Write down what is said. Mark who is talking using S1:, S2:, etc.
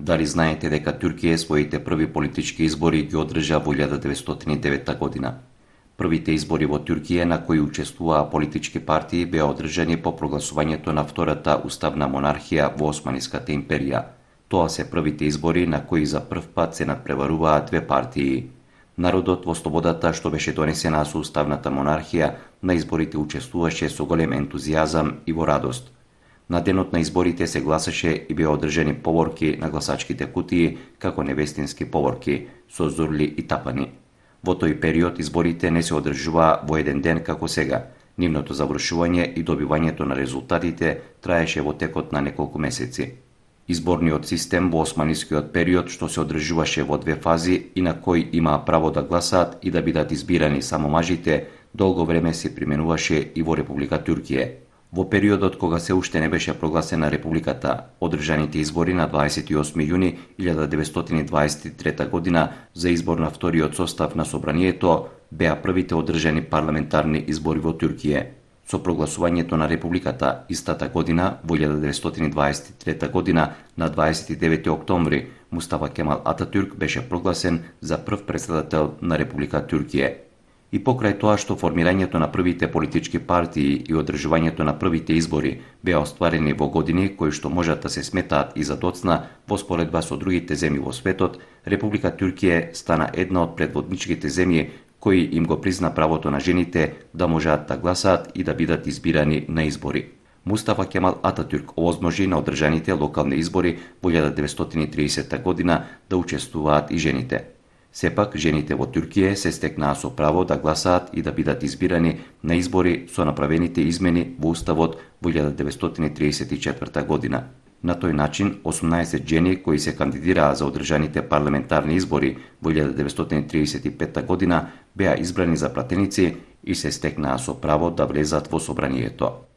S1: Дали знаете дека Туркија своите први политички избори ги одржа во 1909 година? Првите избори во Туркија на кои учествуваа политички партии беа одржани по прогласувањето на втората уставна монархија во Османската империја. Тоа се првите избори на кои за прв пат се надпреваруваа две партии. Народот во слободата што беше донесена со уставната монархија на изборите учествуваше со голем ентузијазам и во радост. На денот на изборите се гласаше и беа одржани поворки на гласачките кутии како невестински поворки, со зурли и тапани. Во тој период изборите не се одржуваа во еден ден како сега. Нивното завршување и добивањето на резултатите траеше во текот на неколку месеци. Изборниот систем во османискиот период што се одржуваше во две фази и на кој имаа право да гласаат и да бидат избирани само мажите, долго време се применуваше и во Република Туркија. Во периодот кога се уште не беше прогласена републиката, одржаните избори на 28 јуни 1923 година за избор на вториот состав на собранието беа првите одржани парламентарни избори во Туркија. Со прогласувањето на републиката истата година, во 1923 година, на 29 октомври, Мустафа Кемал Ататурк беше прогласен за прв претседател на Република Туркија. И покрај тоа што формирањето на првите политички партии и одржувањето на првите избори беа остварени во години кои што можат да се сметаат и за доцна во споредба со другите земји во светот, Република Туркија стана една од предводничките земји кои им го призна правото на жените да можат да гласаат и да бидат избирани на избори. Мустафа Кемал Ататурк овозможи на одржаните локални избори во 1930 година да учествуваат и жените. Сепак, жените во Туркија се стекнаа со право да гласаат и да бидат избирани на избори со направените измени во Уставот во 1934 година. На тој начин, 18 жени кои се кандидираа за одржаните парламентарни избори во 1935 година беа избрани за пратеници и се стекнаа со право да влезат во собранието.